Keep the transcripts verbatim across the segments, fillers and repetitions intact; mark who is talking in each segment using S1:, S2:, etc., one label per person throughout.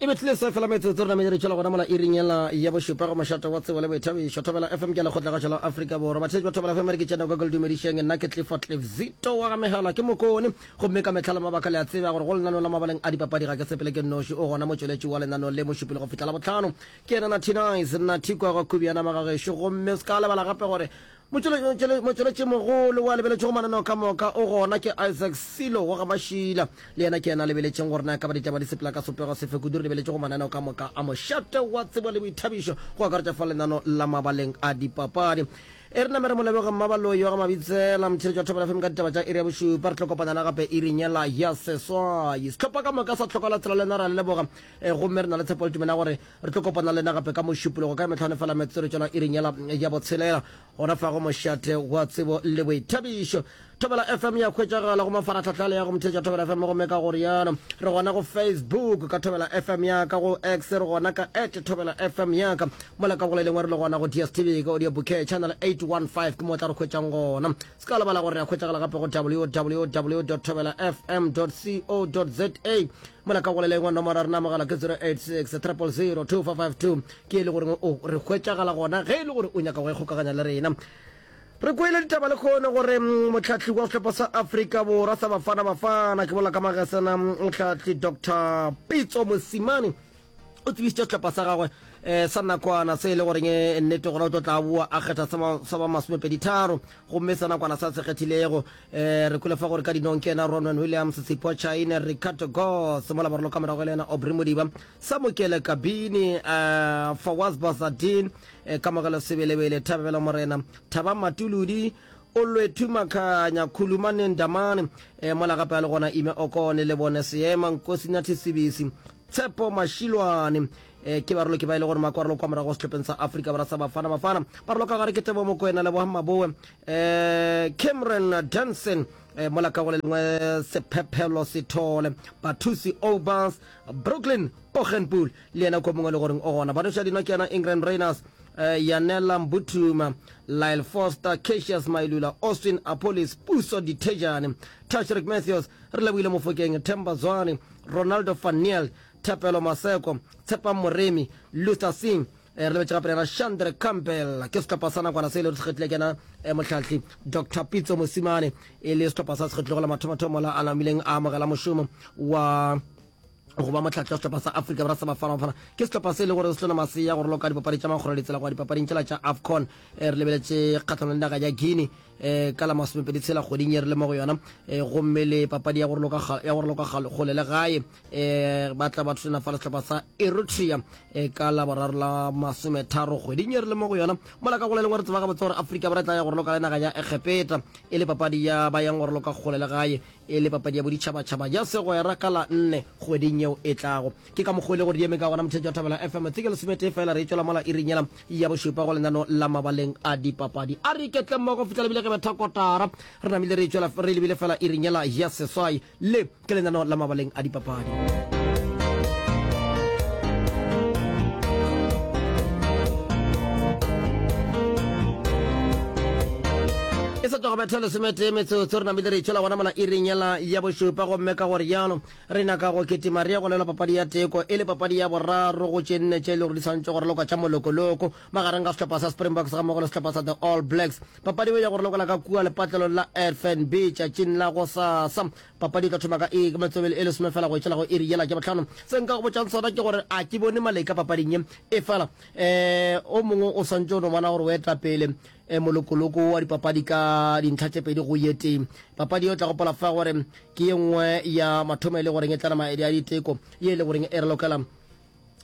S1: E bethile se fela metsotso re namile re tšwela gona mola iring yela ya bošupa go mošate wa tsebo le boithabišo Thobela F M ke lekgotlagašo la Afrika Borwa. Batheetši ba Thobela F M re ke tšena ka ke le dumedišeng nna ke Clifford Cliff Zito wa ga Megala ke Mokone gomme ka mehla le mabaka le a tseba gore go lenaneo la mabaleng a dipapadi ga ke sepele ke nnoši o gona motšweletši wa lenaneo le mošupile go fihla Labohlano ke yena Nathi Nice Nathi kwa ga Kubiana Magagešo gomme o se ka lebala gape gore Motšweletšimogolo wa lebeletšego mananeo ka moka o gona ke Isaac Silo wa ga Mašila. Le yena ke yena a lebeletšeng gore na e ka ba ditaba di sepela ka sopego sefe kudu. Re lebeletše go mananeo ka moka a mošate wa tsebo le boithabišo go akaretša fa lenano la mabaleng a dipapadi. E re name re mo leboge Mmabaloi wa ga Mabitsela, motheeletši wa Thobela F M ka ditaba tša iri ya bošupa. Re tlo kopana le gape iring yela ya seswai. Sehlopha ka moka sa Tlhoka la Tsela le nna re a le leboga gomme re na le tshepo le tumelo ya gore re tlo kopana le lena gape ka Mošupologo ka mehlano fela metsotso re tšwela iring yela ya botshelela. Gona fa go mošate wa tsebo le boithabišo. Thobela F M ya hwetšagala go mafarahlahla le ya go motheetša Thobela F M gomme ka go rialo re gona go Facebook ka Thobela F M ya ka, go X re gona ka at Thobela F M ya ka, mola ka go le lengwe re le gona go D S T V ka audio bouquet channel eight one five ke mo o tla re hwetšang gona. Se ka lebala gore re a hwetšagala gape go W W W dot thobela F M dot C O dot Z A. Mola ka go le lengwe nomoro ya rena mogala ke zero eight six triple zero two four five two ke e le goreng o re hwetšagala gona ge e le gore o nyaka go ikgokaganya le rena. Re kwele ditaba lekgono gore mohlahli wa sehlopha sa Afrika Borwa sa Bafana Bafana ke bolela ka Magesena mohlahli Doctor Pitso Mosimane o tsebišitše sehlopha sa gagwe eh, sa nakwana se e le goreng eh, nnete gona o tlo tla boa a kgetha sa ba masomepedi tharo gomme sa nakwana sa se kgethilego eh, re kwele fa gore ka dinong ke yena Ronwen Williams, Sipho Chaine, Ricardo Goss, mola barolo ka morago e le yena Aubrey Modiba, Samukele Kabini, eh, Fawaz Basadien, eh, Kamogelo Sebelebele, Thabelo Morena, Thaba Matuludi, Olwethu Makhanya, Khulumane Ndamane, eh, mola gape a le gona Ime Okone, Lebone Seema, Nkosinathi Sibisi, Tshepo Mashilwane, eh, ke barolo ke ba e le gore makwarolo kwa morago sehlopheng sa Afrika Borwa sa Bafana Bafana. Barolo ka gare ke Tebo Mokoena, Lebohang Maboe, eh, Cameron Danson, eh, mola ka go le lengwe Sephephelo Sithole, Bathusi Obas, Brooklyn Poggenpoel le yena ko mongwe le goreng o gona. Banoša dino ke yena Ingram Rayners, eh, Yanela Mbuthuma, Lyle Foster, Cassius Mailula, Austin Apolis, Puso Dithejane, Tashreeq Matthews, re lebohile Mofokeng, Themba Zwane, Ronaldo van Niel, Thapelo Maseko, Tshepang Moremi, Luther Singh, eh, re lebetše gape le yena Chandre Campbell. Ke sehlopha sa nakwana se e le gore se kgethile ke yena eh, mohlahli Doctor Pitso Mosimane e le sehlopha sa se kgethilego la mathomothomo la a namileng a amogela mošomo wa go ba mohlahli wa sehlopha sa Afrika Borwa sa Bafana Bafana. Ke sehlopha se e le gore se tlona masea go raloka dipapadi tša makgolo ditsela go ya dipapading tšela tša AFCON. Eh, re lebeletše kgahlano le naga ya Guinea eh, ka la masomepedi tshela kgweding ye re le mo go yona, eh, gomme le papadi ya go raloka ya go raloka kgole le gae, eh, ba tla ba thulana fa le sehlopha sa Eritrea, eh, ka la boraro la masometharo kgweding ye re le mo go yona. Mola ka go le lengwe re tseba gabotse gore Afrika Borwa e tla ya go raloka le naga ya Egepeta e le papadi ya ba yang go raloka kgole le gae e le papadi ya boditšhabatšhaba ya segwera ka la nne kgweding yeo e tlago. Ke ka mokgwa e le gore di eme ka gona motheetši wa Thobela F M. Tse ke lesometee fela re e tšwela mola iring yela ya bošupa go lenano la mabaleng a dipapadi. A re iketle mmogo go fihla lebile ge betha kotara. Re namile re e tšwela re lebile fela iring yela ya seswai. Le ke lenano la mabaleng a dipapadi. E sa tšwa go betha lesometee metsotso re namile re itšwela gona mola iring yela ya bošupa, gomme ka gore jalo re nyaka go kitima re ye go lwela papadi ya teko e le papadi ya boraro go tše nne tše e le gore di swanetše go ralokwa tša molokoloko magareng ga sehlopha sa Springboks gammogo le sehlopha sa The All Blacks. Papadi yeo ya go ralokela ka kua lepatlelong la F N B tšatšing la gosasa. Papadi e tla thoma ka e metswebele e lesome fela go etšela go iri yela ke bohlano. Se nka go botšang sona ke gore a ke bone maleka papading ye, efela um o mongwe o swantše o no bona gore o eta pele molokoloko wa dipapadi ka dintlha tše pedi go ye tee. Papadi ye o tla gopola fa gore ke ye nngwe ya mathomo e le goreng e tla nama ya diteko ye e le goreng e re lokela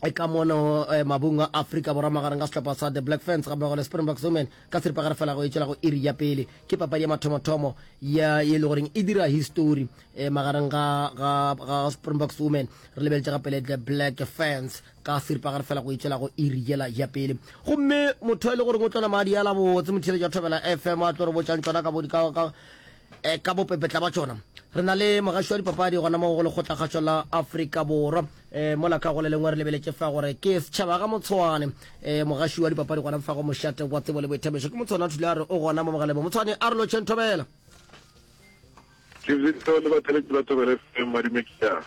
S1: ka mono mabung a Afrika Borwa magareng ga sehlopha sa The Black Ferns gammogo le Springboks Women ka seripagare fela go e tšwela go iri ya pele. Ke papadi ya mathomothomo ya ye e le goreng e dira histori magareng ga ga ga Springboks Women re lebeletše gape le The Black Ferns ka seripagare fela go e tšwela go iri yela ya pele. Gomme motho e le goreng o tlona madi a la botse motheeletši wa Thobela F M a tlo re botšang tšona ka bo ka ka ka bopepetla ba tšona. Re na le mogaši wa dipapadi gona mo go Lekgotlakgašo la Afrika Borwa. E, mola ka go le lengwe re lebeletše fa gore ke setšhaba ga Motshwane. E, mogaši wa dipapadi gona fa go mošate wa tsebo le boithabišo ke Motshwane a Thulare, o gona mo mogaleng. Motshwane, a re lotšheng Thobela.
S2: Ke le batheletši ba Thobela F M, madume ke a.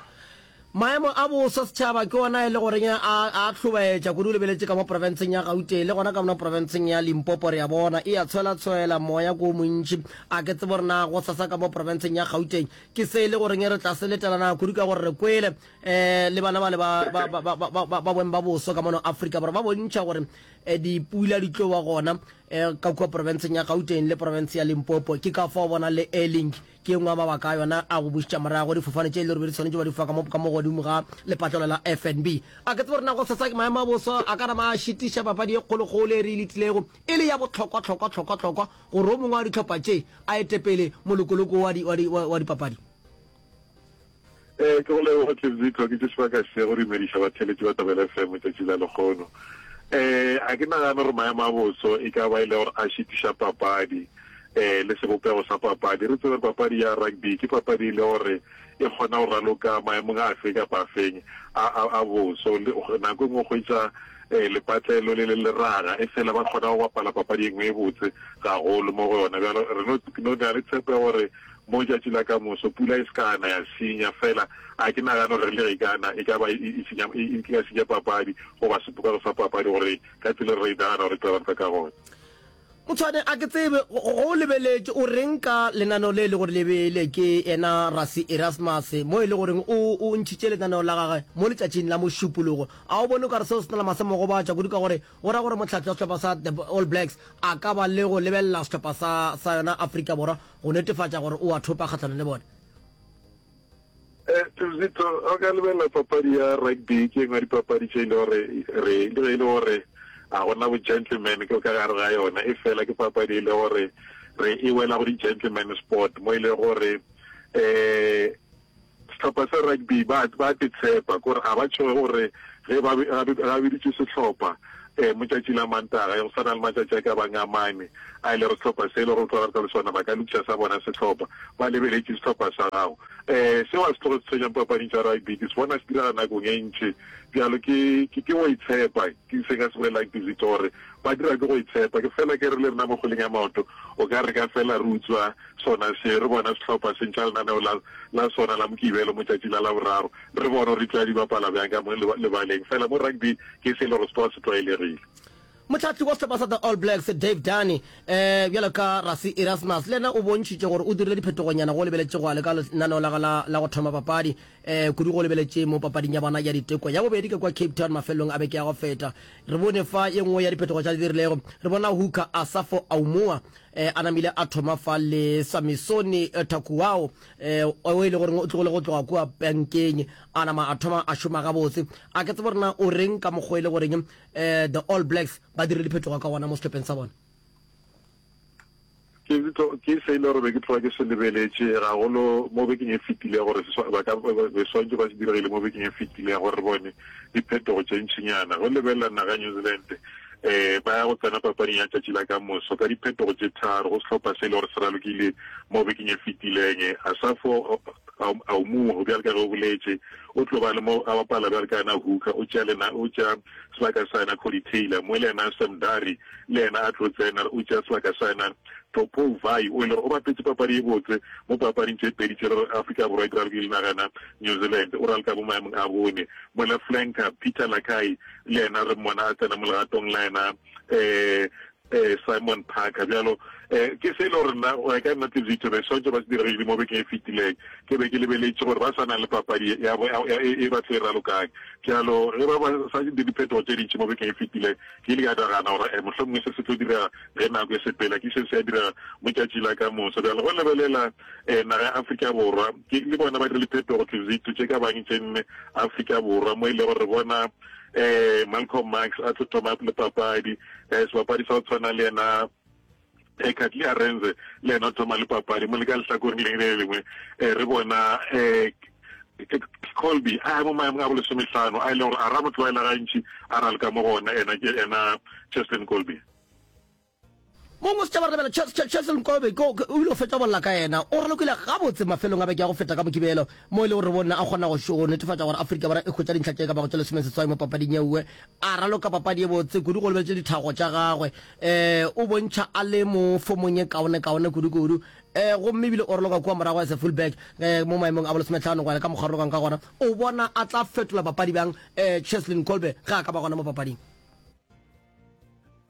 S1: Maemo a boso setšhaba ke ona e le goreng a a hlobaetša kudu lebeletše ka mo profenseng ya Gauteng le gona ka mo profenseng ya Limpopo re a bona e a tshwela-tshwela moya ko montši. A ke tsebe gore na go sasa ka mo profenseng ya Gauteng ke se e le goreng re tla se letela na kudu ka gore re kwele um le bana ba le ba ba ba ba ba ba boeng ba boso ka mono Afrika Borwa ba bontšha gore eh, dipula di tlo ba gona eh, ka kua profenseng ya Gauteng le profense ya Limpopo. Ke ka fao bona le Airlink ke engwe ya mabaka a yona a go bušetša morago difofane tše e le gore be di swanetše ba di fofa ka mo ka mo godimo ga lepatlelo la F N B. A ke tsebe gore na go sasa maemo a boso a ka nama a šitiša papadi e kgolokgolo e re e letilego e le ya bohlokwa hlokwa hlokwa hlokwa gore o mongwe wa dihlopha tše a ete pele molokoloko wa di wa di wa dipapadi.
S2: Eh ke go leboga Tlebzito, ke tše sebaka se go dumediša batheeletši ba Thobela F M tšatši la lekgono. Eh a ke nagane gore maemo a boso e ka ba e le gore a šitiša papadi eh le sebopego sa papadi. Re tsebe papadi ya rugby ke papadi e le gore e kgona go raloka maemong a afe kapa afeng a a a boso. Nako e nngwe hwetša eh lepatlelo le le leraga e fela ba kgona go bapala papadi e nngwe e botse gagolo mo go yona. Bjalo re no no na le tshepo ya gore mo tšatši la ka moso pula e se kana ya senya fela. A ke nagane gore le ge kana e ka ba e senya e ka senya papadi goba sebopego sa papadi gore ka tsela re e nagana gore tla ba ka gona.
S1: Motshwane, a ke tsebe go lebeletše o reng ka lenaneo le e le gore le beile ke yena Rassie Erasmus mo e le goreng o o ntšhitše lenaneo la gagwe mo letšatšing la Mošupologo. A o bone o ka re seo se na le mase mo gobatša kudu ka gore go ra gore mohlahli wa sehlopha sa the All Blacks a ka ba le go lebelela sehlopha sa sa yona Afrika Borwa go netefatša gore o a thopa kgahlanong le bone?
S2: Eh Tuzito, o ka lebelela papadi ya rugby ke engwe ya dipapadi tše e le gore re le ge e le gore a gona bo gentleman ke ka gare ga yona, e fela ke papadi e le gore re e wela go di-gentleman sport mo e le gore eh sehlopha sa rugby ba ba te tshepa gore a ba tšhoge gore ge ba ga biditše sehlopha eh motšatši la Mantaga go sana le matšatši a ka bang a mane a ile re sehlopha se e le gore tlo rata le sona ba ka lokiša sa bona sehlopha ba lebeletše sehlopha sa gago. eh seo a se tloge se tshwenyang papading tša rugby ke se bona se direga nakong e ntši. Bjalo ke ke ke go itshepa, ke se ka se bolelang Tizito gore ba dira ke go itshepa. Ke fela ke re le rena mo kgweleng ya maoto o ka re ka fela re utswa sona se re bona sehlopha se ntšha lenaneo la la sona la Mokibelo motšatši la Laboraro re bone gore di tla di bapala bjang ka mo lebaleng. Fela mo rugby ke se e le gore se tloga se tlwaelegile.
S1: Mohlahli wa sehlopha sa the All Blacks Dave Rennie eh bjalo ka Rassie Erasmus le yena o bontšhitše gore o dirile diphetogonyana go lebeletše go le ka lenaneo la la la go thoma papadi eh kudu go lebeletše mo papading ya bona ya diteko ya bobedi ka kwa Cape Town mafelong a beke ya go feta. Re bone fa ye nngwe ya diphetogo tša di dirilego, re bona hooker Asafo Aumua eh a namile a thoma fa le Samisoni Takuao eh o e le gore o tlogile go tloga kua bankeng a nama a thoma a šoma gabotse. A ke tsebe gore na o reng ka mokgwa e le goreng eh the All Blacks ba dirile diphetogo ka gona mo sehlopheng sa bona.
S2: Ke ke se ile gore be ke tloga ke se lebeletše gagolo mo bekeng e fetile gore ba ka be swantse ba se diregile mo bekeng e fetile gore re bone diphetogo tše ntšinyana. Go lebelela naga New Zealand eh ba ya go tsena papading ya tšatši la ka moso ka diphetogo tše tharo go sehlopha se e le gore se ralokile mo bekeng e fetileng. Asafo Aumua bjalo ka ge o boletše o tlo ba le mo a bapala bjalo ka yena hooker, o tšea lena o tšea sebaka sa yena Cody Taylor, mo le yena Sam Darry le yena a tlo tsena o tšea sebaka sa yena Tupou Vaa'i o e le gore o bapetse papadi e botse mo papading tše pedi tše le Afrika Borwa e ralokile nagana New Zealand, o raloka mo maemong a bone. Mola flanker Peter Lakai le yena re mmona a tsena mo legatong la yena eh eh Simon Parker. Bjalo eh ke se e le gore nna go ya ka nna Tizito be swantse ba se diregile mo bekeng e fetileng ke be ke lebeletše gore ba sa na le papadi ya e ba tlo e ralokang. Bjalo ge ba ba sa di diphetogo tše dintši mo bekeng e fetileng ke ile ka nagana gore eh mohlomongwe se se tlo direga ge nako e sepela, ke se se a direga mo tšatši la ka moso. Bjalo go lebelela eh naga ya Afrika Borwa ke le bona ba dirile diphetogo Tizito tše ka bang tše nne Afrika Borwa mo e le gore re bona eh Malcolm Marx a tlo thoma le papadi, eh sebapadi sa go tshwana le yena eh Kurt-Lee Arendse le yena o thoma le papadi. Mo le ka lehlakoreng leng le lengwe eh re bona eh Kolbe a mo maemong a bolesomehlano a e leng gore a ra mo tlwaela gantši a raloka mo gona ena ke ena Cheslin Kolbe.
S1: Mongwe setšhaba re lebela Cheslin Kolbe o ile go fetša bolla ka yena, o ralokile gabotse mafelong a beke ya go feta ka Mokibelo mo e le gore re bone a kgona go netefatša gore Afrika Borwa e hwetša dintlha tše ka bago tše lesomeseswai mo papading ye nngwe. A raloka papadi ye botse kudu go lebeletše dithago tša gagwe, um o bontšha a le mo fomong ye kaone kaone kudu kudu. um gomme ebile o raloka kua morago as a fullback um mo maemong a bolesometlhano go ya ka mokgwa ralokang ka gona. O bona a tla fetola papadi bjang um Cheslin Kolbe ge a ka ba gona mo papading?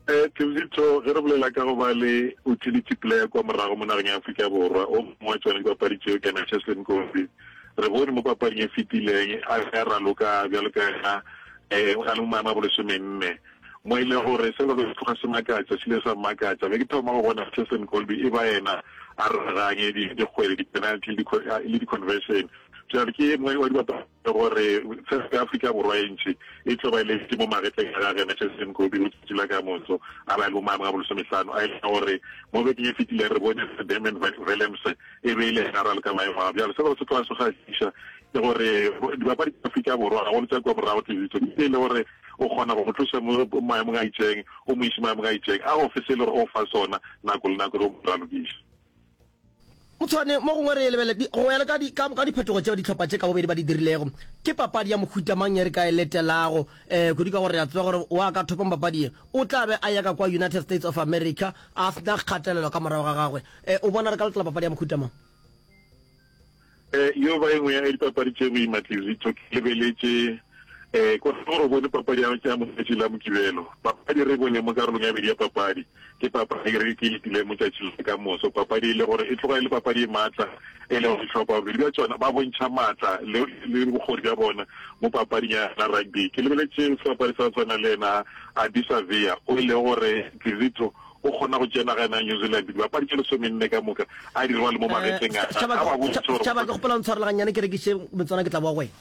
S2: Eh, Tebzitho, ge re bolela ka go ba le utility player kua morago mo nageng ya Afrika Borwa, o mongwe wa tšona dipapadi tšeo ke yena Cheslin Kolbe. Re bone mo papading e fetileng a be a raloka bjalo ka yena eh, a le mo maemo a bolesomenne, mo e lego gore se be se tloga se makatša, se ile sa mmakatša. Be ke thoma go bona Cheslin Kolbe e ba yena a raraganye dikgwele, di-penalty le di-conversion. Bjale ke ye nngwe wa dibapadi gore tshepo ya Afrika Borwa e ntši e tlo ba e letše mo magetleng a gagwe yena Cheslin Kolbe letšatši la ka moso a ba e le mo maemong a bolesomehlano a e leng gore mo bekeng e fetileng re bone Damian Willemse e be e le yena a raloka maemo a. Bjale se gore se tloga se kgahliša ke gore dibapadi tša Afrika Borwa gagolo tša kua morago Tliziso ke e le gore o kgona go mo tloša mo maemong a itšeng o mo iše maemong a itšeng a go fe se e le gore o fa sona nako le nako ge o mo ralokiša.
S1: Motshwane, mo gongwe re e lebelele, di, go ya le ka di, ka, ka diphetogo tšeo dihlopha tše ka bobedi ba di dirilego, ke papadi ya mohuta mang ye re ka e letelago? Eh, kudu ka gore re a tseba gore wa ka thopang papadi ye o tla be a ya ka kua United States of America a se na kgatelelo ka morago ga gagwe. Eh, o bona re ka letela papadi ya mohuta mang?
S2: Eh, yo ba e nngwe ya dipapadi tše boima, Tlizitho, ke lebeletše, eh, ko gore o bone papadi ya, ya motšatši la Mokibelo. Papadi re e bone mo karolong ya bedi ya papadi. Ke papadi re ke letile motšatši la ka moso. Papadi e le gore e tloga e le papadi e maatla, e le gore dihlopha bobedi bja tšona ba bontšha maatla le, le bokgoni bja bona mo papading ya rugby. Ke lebeletše sebapadi sa go tshwana le yena Ardie Savea, o e lego gore Tlizitho o kgona go tšea naga ya New Zealand dibapadi tše lesomenne ka moka a di rwale mo magetleng a
S1: Setšhaba
S2: a ba bontšhe gore
S1: Setšhaba, ke kgopela o ntshwarele gannyane ke rekiše metswana ke tla boa go wena.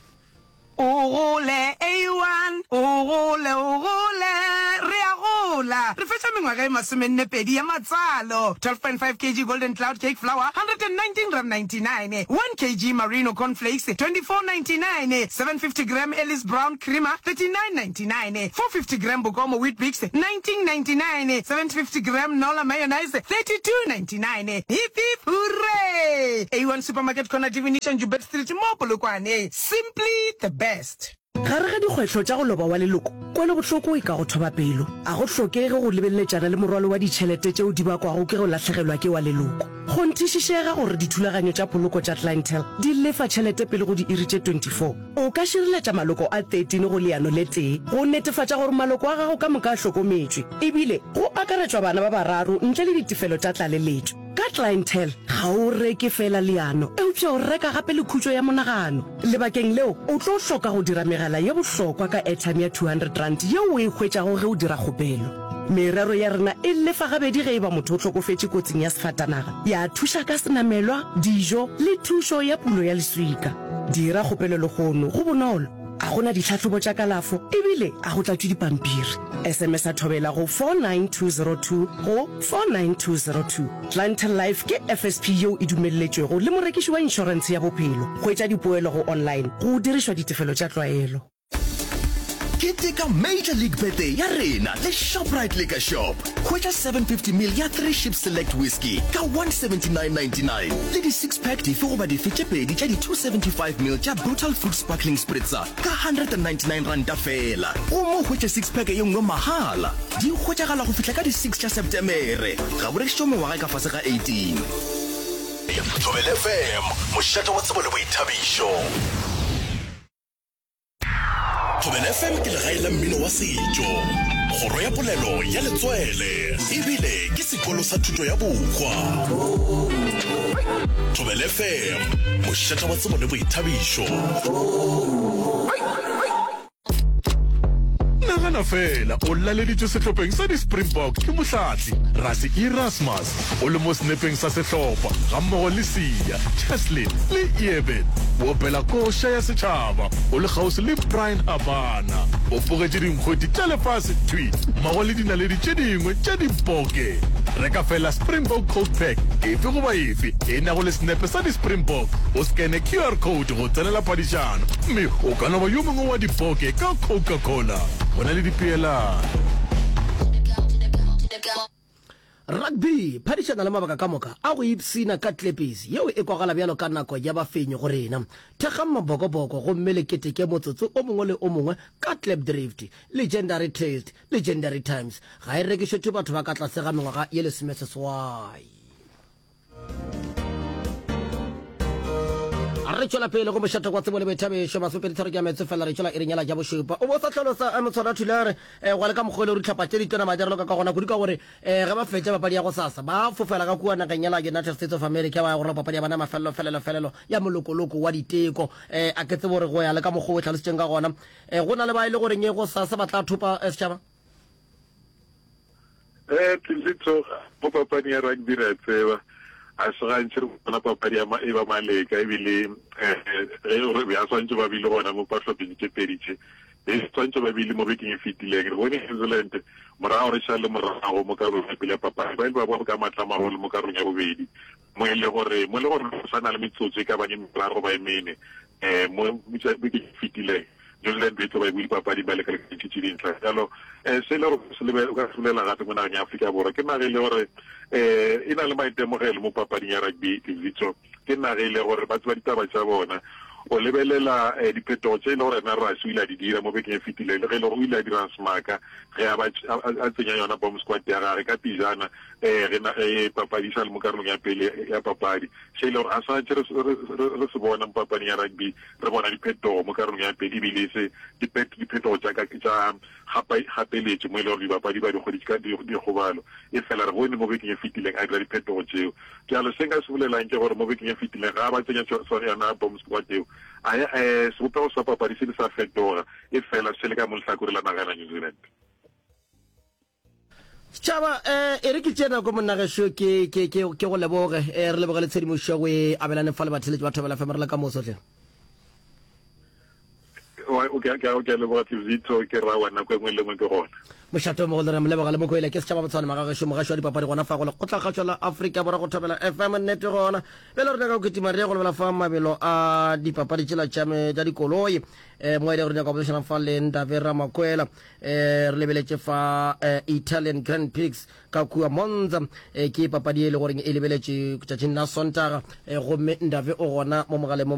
S3: O gole, A one, o gole, o gole, re a gola. Re fetša mengwaga e masomenne pedi ya matswalo. Twelve point five kg Golden Cloud Cake Flour, hundred and nineteen rand ninety nine, one kg Marino Corn Flakes, twenty four ninety nine, seven fifty gram Ellis Brown Creamer, thirty nine ninety nine, four fifty gram Bokomo Weet-Bix, nineteen ninety nine, seven fifty gram Nola Mayonnaise, thirty two ninety nine. Hip hip hooray! A one Supermarket Corner Divination Joubert Street mo Polokwane. Simply the best.
S4: Gare ga dikgwetlho tša go loba wa leloko, kwelobohloko e ka go thoba pelo. A go hlokege go lebeleletšana le morwalo wa ditšhelete tšeo di bakwago ke go lahlegelwa ke wa leloko. Kgonthišišega gore dithulaganyo tša poloko tša Clientele di lefa tšhelete pele go diiri tše twenty four. O ka šireletša maloko a thirteen go leano le tee go netefatša gore maloko a gago ka moka a hlokometšwe, ebile go akaretšwa bana ba bararo ntle le ditefelo tša tlaleletšo. Ka Clientele, ga o reke feela leano, eupša o reka gape le khutšo ya monagano. Lebakeng leo, o tlo hloka go dira megala ye bohlokwa ka airtime ya two hundred rand yeo o e hwetšago ge o dira kgopelo. Merero ya rena e lefa gabedi ge e ba motho o hlokofetše kotsing ya sefatanaga, ya thuša ka senamelwa, dijo le thušo ya pulo ya leswika. Dira kgopelo lehono, go bonolo, a go na ditlhahlobo tša kalafo ebile a go tlatšwe dipampiri. S M S a thobela go four nine two zero two go four nine two zero two. Clientele Life ke F S P yeo e dumelletšwego le morekiši wa inšorentshe ya bophelo. Hwetša dipoelo go online go dirišwa ditefelo tša tlwaelo.
S5: Keteka Major League Birthday ya rena le Shoprite Liquor Shop. Hwetša seven fifty mil ya Three Ships Select Whisky ka one seventy nine ninety nine le di six pack dife goba dife tše pedi tša di two seventy five mil tša Brutal Fruit Sparkling Spritzer ka hundred and ninety nine ranta feela. Gomme o hwetše six pack ye nngwe mahala. Di hwetšagala go fihla ka di six tša Septemere. Ga bo rekišetšwe mengwaga e ka fase ga eighteen. Thobela F M, mošate wa tsebo le boithabišo. Thobela F M ke legae la mmino wa setšo, kgoro ya polelo ya letswele, ebile ke sekolo sa thuto ya bohwa. Thobela F M, mošate wa tsebo le boithabišo.
S6: Nagana feela o laleditšwe sehlopheng sa di-Springbok ke mohlahli Rassie Erasmus, o le mo senepeng sa sehlopha gammogo le Siya, Cheslin le Eben. O opela koša ya setšhaba o le kgauswi le Bryan Habana. O bogetše dinkgwete tša lefase thwi mmogo le dinaledi tše dingwe tša diboke. Reka feela Springbok Coke Pack efe goba efe e nago le senepe sa di-Springbok, o skene Q R code go tsenela phadišano mme o ka no ba yo mongwe wa diboke ka Coca-Cola. Go na le dipeelano.
S1: Rugby, phadišana le mabaka ka moka a go ipshina ka Klippies yeo e kwagala bjalo ka nako ya bafenyi go rena. Thekgang mabokoboko gomme le keteke motsotso o mongwe le o mongwe ka Klipdrift. Legendary taste, legendary times. Ga e rekišetšwe batho ba ka tlase ga mengwaga ye lesomeseswai. Re tšwela pele go mošate kwa tsebo le boithabišo, masomepedi tharo ke ya metso fela re tšwela iring ya la ja bošupa. O bo sa hlalosa eh, Motshwana Thulare eh, gwa le ka mokgwa e le gore dihlopha tše di tona madi a raloka ka gona kudu ka gore eh, ge ba fetša papadi ya gosasa ba fofela ka kua nageng ya la United States of America ba ya go raloka papadi ya bona ya mafelelo felelo felelo ya molokoloko wa diteko. Eh, a ke tsebe gore go ya le ka mokgwa o e hlalositšeng ka gona eh, go na le ba e le goreng gosasa ba tla thopa eh, setšhaba.
S2: Eh, Tlitlitso, mo papading ya rugby re a tseba a se gantši re bona papadi ya e ba maleka ebile eh, ge re be a swantše ba bile gona mo pahlopheng tše pedi tše e swantše ba bile mo bekeng e fetileng. Re bone New Zealand morago re šale morago mo karolong ya pele ya papadi, ba ile ba boa ka matla a magolo mo karolong ya bobedi mo e le gore mo e le gore go sa na le metsotso e ka bang e meraro goba e mene um mo bekeng e fetileng New Zealand e tlo ba e buile papading ba lekalekantšhitše dintlha. Bjalo um se e le gore se lebe o ka se bolela gape mo nageng ya Afrika Borwa ke naga e le gore um e na le maitemogelo mo papading ya rugby lebitso ke naga e le gore ba tseba ditaba tša bona. O lebelela um diphetogo tše e le gore ena Rassie o ile a di dira mo bekeng e fetileng le ge e le gore o ile a dira semaka ge a ba a tsenya yona bomb squad ya gage ka pejana um ge ge papadi e sa le mo karolong ya pele ya papadi se e le gore a sa tše re se bona mo papading ya rugby re bona diphetogo mo karolong ya pele ebile e se diphetogo tša tša gapeletšo mo e le gore dibapadi ba di hweditše ka dikgobalo efela re bone mo bekeng e fetileng a dira diphetogo tšeo. Bjalo se nka se bolelang ke gore mo bekeng e fetileng ga ba tsenya yona bomb squad eo a sebopego sa papadi se ile sa fetoga efela se le ka mo lehlakore la naga la New Zealand.
S1: Setšhaba, eh, e re ke tšee nako monna gešo ke, ke, ke, ke go leboge. Eh, re leboge le tshedimošo go e abelaneng fa le batheeletši ba Thobela F M. Re le ka moso hle.
S2: Wa, o, ke a, ke a, ke a leboga Tlevitho, ke ra wa nako e nngwe le nngwe ke gona.
S1: Mošate o mogolo re a mo leboga le Mokoele ke setšhaba Botshwane magagešo mogaši wa dipapadi gona fa go lekgotlakgašo la Afrika Borwa go Thobela F M nnete gona bjale re nyaka go kitima re ye go lebela fa mabelo a dipapadi tšela tša me tša dikoloi eh, mo e lego re nyaka go boledišana fa le Ndave Ramakwela eh, re lebeletše fa eh, Italian Grand Prix ka kua Monza eh, ke papadi e le goreng e lebeletše tšatšing la Sontaga eh, gomme Ndave o gona mo mogaleng mo.